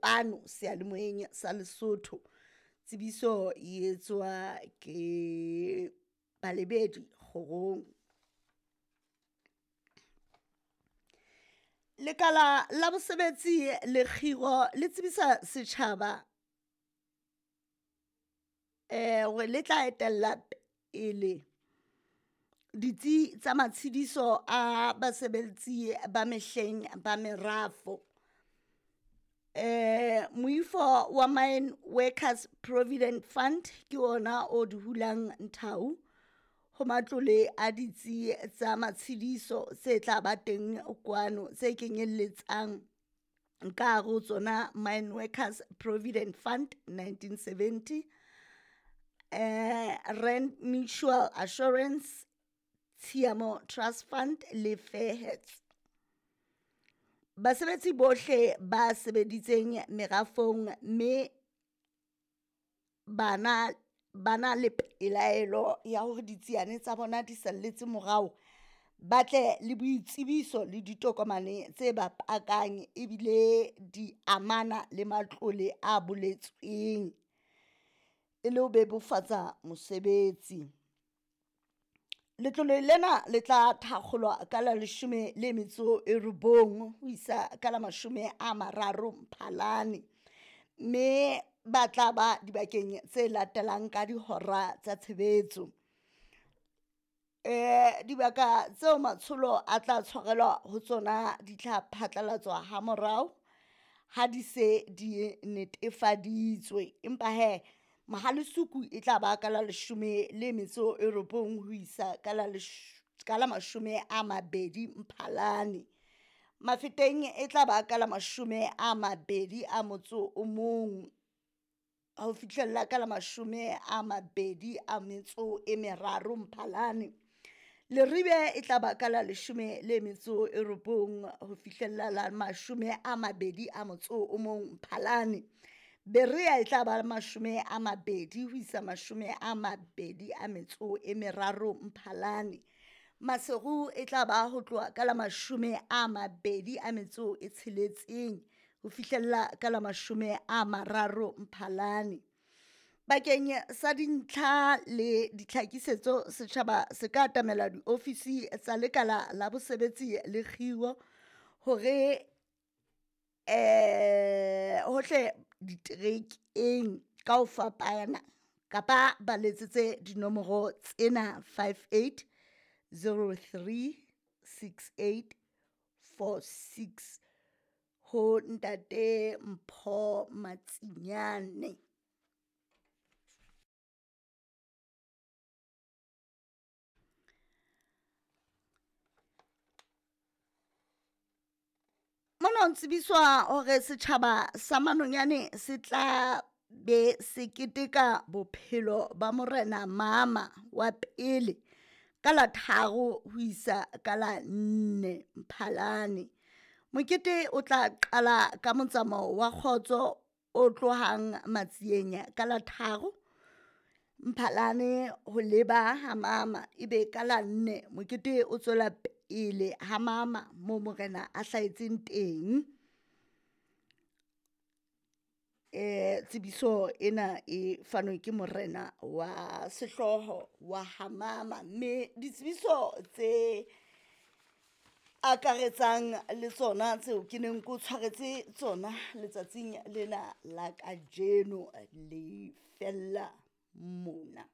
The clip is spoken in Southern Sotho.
kwano seyalemoyeng sa Lesotho. Tsebiso e etswa ke balebedi kgorong. Lekala la bosebetsi le kgiro le tsebisa setjhaba hore le tla etella pele ditsi tsa matshediso a basebetsi ba mehleng ba merafo. Moifo wa Mine Workers Provident Fund ke ona o di hulang nthau ho matlole a ditsi tsa matshediso tse tla ba teng kwano tse kenyelletsang ka hare ho tsona Mine Workers Provident Fund 1970, Rand Mutual Assurance, Tshiamo Trust Fund le Fairheads. Basebetsi bohle ba sebeditseng merafong mme bana ba na le pelaelo ya hore ditsiane tsa bona di salletse morao, ba tle le boitsebiso le ditokomane tse ba pakang ebile di amana le matlole a boletsweng e le ho bebofatsa mosebetsi. Letlole lena le tla thakgolwa ka la 19 ho isa ka la 30 Mphalane, mme ba tla ba dibakeng tse latelang ka dihora tsa tshebetso. Dibaka tseo matsholo a tla tshwarelwa ho tsona di tla phatlalatswa ha morao ha di se di netefaditswe, empa hee Mohalesuku e tla ba ka la 19 ho isa ka la 20 Mphalane. Mafeteng e tla ba ka la 21 ho fihlella ka la 23 Mphalane. Leribe e tla ba ka la 19 ho fihlella la 21 Mphalane. Berea e tla ba 20 ho isa 23 Mphalane. Maseru e tla ba ho tloha ka la 26 ho fihlella ka la 30 Mphalane. Bakeng sa dintlha le ditlhakisetso setjhaba se ka atamela diofisi tsa lekala la bosebetsi le kgiro hore hohle diterekeng ka ho fapana kapa ba letsetse dinomoro tsena 58 03 68 46 ho ntate Mpho Matsinyane. Mona ho tsebiswa hore setjhaba sa Manonyane se tla be se keteka bophelo ba Morena Mama wa pele ka la 3 ho isa ka la 4 Mphalane. Mokete o tla qala ka motsamao wa kgotso o tlohang Matsieng ka la 3 Mphalane ho leba ha Mama, ebe ka la 4 mokete o tswela pele ha Mama moo morena a hlahetseng teng. Tsebiso ena e fanwe ke morena wa sehlooho wa ha Mama, mme ditsebiso tse akaretsang le tsona tseo ke neng ke o tshwaretse tsona letsatsing lena la kajeno le fella mona.